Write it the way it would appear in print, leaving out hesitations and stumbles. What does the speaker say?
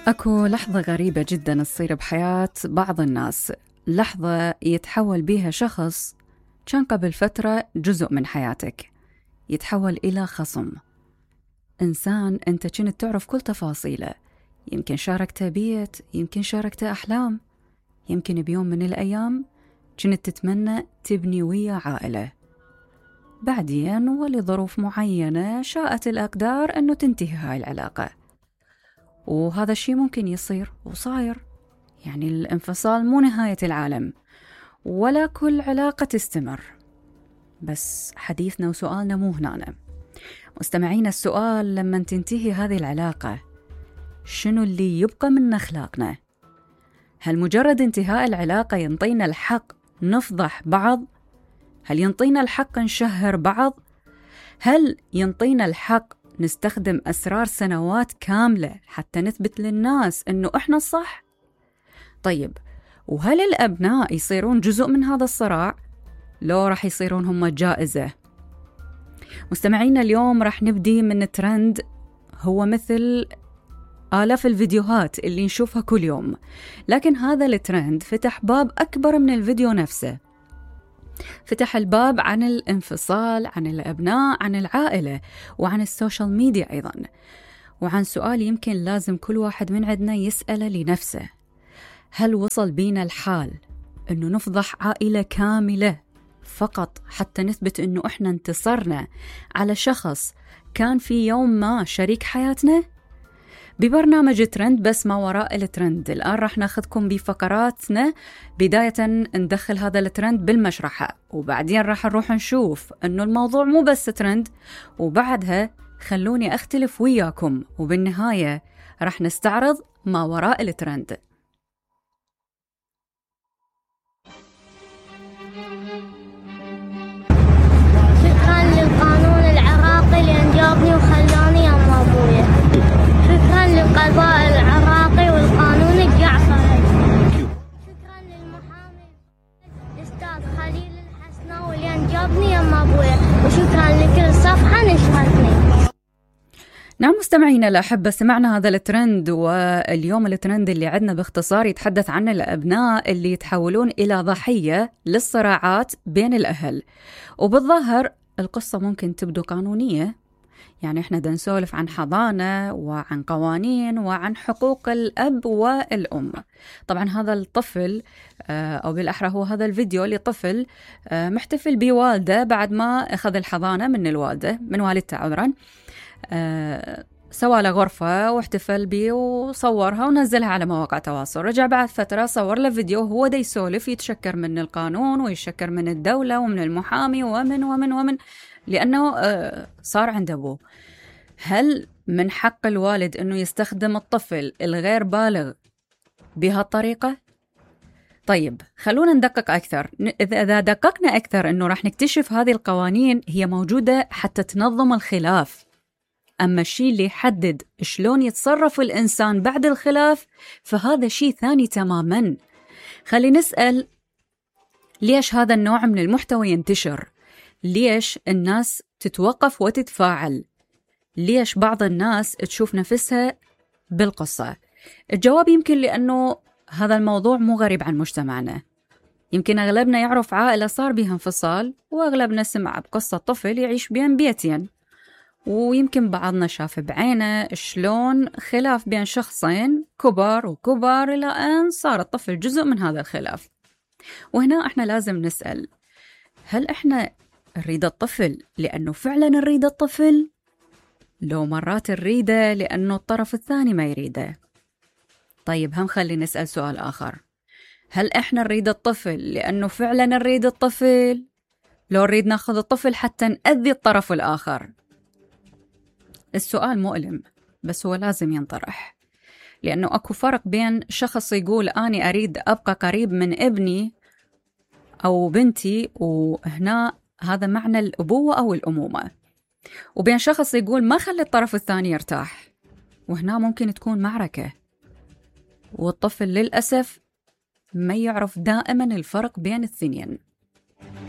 أكو لحظة غريبة جدا تصير بحياة بعض الناس، لحظة يتحول بيها شخص كان قبل فترة جزء من حياتك يتحول إلى خصم. إنسان أنت كنت تعرف كل تفاصيله، يمكن شاركته بيت، يمكن شاركته أحلام، يمكن بيوم من الأيام كنت تتمنى تبني ويا عائلة. بعدين ولظروف معينة شاءت الأقدار أنه تنتهي هاي العلاقة، وهذا الشيء ممكن يصير وصاير. يعني الانفصال مو نهاية العالم، ولا كل علاقة تستمر. بس حديثنا وسؤالنا مو هنا. مستمعين، السؤال لما تنتهي هذه العلاقة شنو اللي يبقى من أخلاقنا؟ هل مجرد انتهاء العلاقة ينطينا الحق نفضح بعض؟ هل ينطينا الحق نشهر بعض؟ هل ينطينا الحق نستخدم أسرار سنوات كاملة حتى نثبت للناس أنه إحنا الصح؟ طيب، وهل الأبناء يصيرون جزء من هذا الصراع؟ لو رح يصيرون هم الجائزة؟ مستمعينا، اليوم رح نبدي من ترند هو مثل آلاف الفيديوهات اللي نشوفها كل يوم، لكن هذا الترند فتح باب أكبر من الفيديو نفسه. فتح الباب عن الانفصال، عن الأبناء، عن العائلة، وعن السوشيال ميديا أيضا، وعن سؤال يمكن لازم كل واحد من عندنا يسأله لنفسه: هل وصل بينا الحال أنه نفضح عائلة كاملة فقط حتى نثبت أنه إحنا انتصرنا على شخص كان في يوم ما شريك حياتنا؟ ببرنامج ترند بس ما وراء الترند، الآن راح ناخذكم بفقراتنا. بداية ندخل هذا الترند بالمشرحة، وبعدين راح نروح نشوف أنه الموضوع مو بس ترند، وبعدها خلوني أختلف وياكم، وبالنهاية راح نستعرض ما وراء الترند. شكرا للقانون العراقي لأن جابني وخلاني أم أبويا. شكرا للقضاء العراقي والقانون الجعفري. شكرا للمحامي الأستاذ خليل الحسناوي لأن جابني أم أبويا. وشكرا لكل صفحة نشرتني. نعم مستمعينا الأحبة، سمعنا هذا الترند، واليوم الترند اللي عندنا باختصار يتحدث عن الأبناء اللي يتحولون إلى ضحية للصراعات بين الأهل. وبالظاهر القصة ممكن تبدو قانونية، يعني احنا دا نسولف عن حضانة وعن قوانين وعن حقوق الأب والأم. طبعا هذا الطفل أو بالأحرى هو هذا الفيديو لطفل محتفل بوالده بعد ما أخذ الحضانة من الوالدة، من والدته عذرا. سوى له غرفة واحتفل بيه وصورها ونزلها على مواقع التواصل. رجع بعد فترة صور له فيديو هو دا يسولف، يتشكر من القانون ويشكر من الدولة ومن المحامي ومن لأنه صار عند أبوه. هل من حق الوالد أنه يستخدم الطفل الغير بالغ بهالطريقة؟ طيب خلونا ندقق أكثر. إذا دققنا أكثر أنه راح نكتشف هذه القوانين هي موجودة حتى تنظم الخلاف، أما الشيء اللي يحدد شلون يتصرف الإنسان بعد الخلاف فهذا شيء ثاني تماما. خلي نسأل ليش هذا النوع من المحتوى ينتشر؟ ليش الناس تتوقف وتتفاعل؟ ليش بعض الناس تشوف نفسها بالقصة؟ الجواب يمكن لأنه هذا الموضوع مو غريب عن مجتمعنا. يمكن أغلبنا يعرف عائلة صار بها انفصال، وأغلبنا سمع بقصة طفل يعيش بين بيتين، ويمكن بعضنا شاف بعينه شلون خلاف بين شخصين كبار إلى أن صار الطفل جزء من هذا الخلاف. وهنا احنا لازم نسأل: هل احنا نريد الطفل لأنه فعلا نريد الطفل؟ لو مرات نريده لأنه الطرف الثاني ما يريده؟ طيب هم خلي نسأل سؤال آخر: هل احنا نريد الطفل لأنه فعلا نريد الطفل؟ لو نريد ناخذ الطفل حتى نأذي الطرف الآخر؟ السؤال مؤلم بس هو لازم ينطرح، لأنه أكو فرق بين شخص يقول أنا أريد أبقى قريب من ابني أو بنتي، وهنا هذا معنى الأبوة أو الأمومة، وبين شخص يقول ما خلي الطرف الثاني يرتاح، وهنا ممكن تكون معركة. والطفل للأسف ما يعرف دائما الفرق بين الاثنين.